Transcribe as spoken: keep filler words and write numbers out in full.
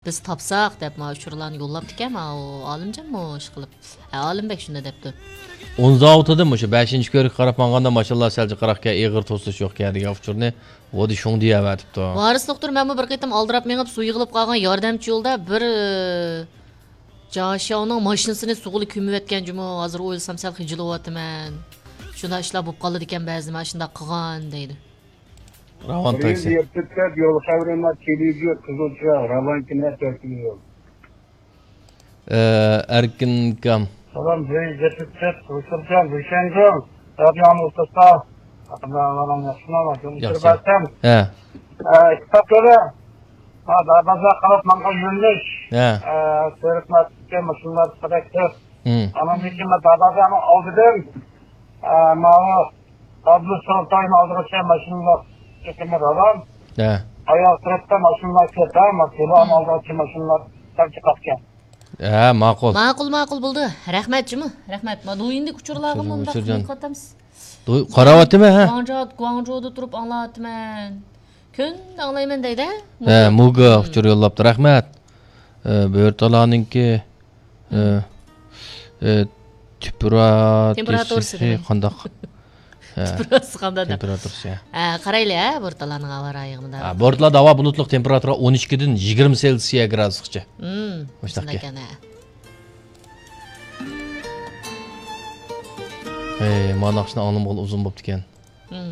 بىز تاپساق دەپ، ماڭا ئۇچۇرلارنى يوللاپتىكەن، ماۋۇ ئالىمجانمۇ ئىشقىلىپ. ھە، ئالىمبەك شۇنداق دەپتۇ. ئونزاۋۇتىدىن مۇشۇ بەشىنچى كۆۋرۈككە قاراپ ماڭغاندا ماشىنىلار سەل جىقراقكەن، ئېغىر توسۇش يوقكەن دېگەن ئۇچۇرنى ۋودى شۇڭ دېيەۋەتىپتۇ. ۋارىس دوختۇر، مەنمۇ بىر قېتىم ئالدىراپ مېڭىپ، سۇ يىغىلىپ قالغان ياردەمچى يولدا بىر، ئى، جاشاۋنىڭ ماشىنىسىنى سۇغىلا كۆمۈۋەتكەن جۇمۇ. ھازىر ئويلىسام سەل خىجىللىۋاتىمەن. شۇنداق ئىشلار بولۇپ قالىدىكەن بەزىدە، مانا شۇنداق قىلغان دەيدۇ. راۋان بىر يۈز تاكسى. يەتتە سەت يول خەۋىرىم بار، تېلېۋىزور، قىزىلچا، راۋان كىنە، تۆتىنچى يول. ئە، ئەركىن ئاكام. سالام، بىر يۈز يەتتە سەت، ھۇسۇرجان، ھۈسەنجان، رادىيونى ئولتۇرسا، ئاقىللارنىڭ ياخشىمۇ، ياخشى. يوللىشىپ بەرسەم. ھە. ئە، ئىككى سائەت بېرى، ھە، دەرۋازا قاراپ ماڭغان يۆنىلىش. ھە. ئە، سېرىق مەسچىتكە ماشىنىلار قەدەك كۆپ. ھىم. ئانىڭدىن كېيىن مەن دەرۋازانىڭ ئالدىدىن، ئە، ماۋۇ ئابدۇسۇلتاننىڭ ئالدىغىچە ماشىنىلار چېكىنىپ ئالام. ھە. ئاياغ تەرەپتە ماشىنىلار كۆپ، ھە، ماشىنا ئالدىغىچە ماشىنىلار سەل چىقاتكەن. ھە، ماقۇل. ماقۇل، ماقۇل بولدى. رەھمەت جۇمۇ. رەھمەت. ما دويىندىكى ئۇچۇرلارغا ئۇچۇرنى، مۇنداق ئۇچۇرجان. دىققەت قىلىمىز. دوي-، قاراۋاتىمەن، ھە. گۇاڭجۇ-، گۇاڭجۇدا تۇرۇپ ئاڭلاۋاتىمەن. كۈندە ئاڭلايمەن دەيدۇ. ھە، مۇگا. مۇگا ئۇچۇر يوللاپتۇ. رەھمەت. ئە، بۆرتالانىڭكى، ئە، ئە، تېمپېراتۇرىسى تېمپېراتۇرىسى دېمەي. قانداق؟ ھە. تېمپېراتۇرىسى قانداق دەپ. تېمپېراتۇرىسى، ھە. ھە، قارايلى، ھە، بورتالاردىن ھاۋا رايىغىمۇ. ھە، بورتالاردا ھاۋا بۇلۇتلۇق، تېمپېراتۇرا ئون ئىككىدىن يىگىرمە سېلسىيە گرادۇسقىچە. ھىم، مۇشۇنداق شۇنداق ئىكەن. ئىكەن، ھە. ھەي، مانا ناخشىنى ئاڭلىمىغىلى ئۇزۇن بوپتىكەن. ھىم.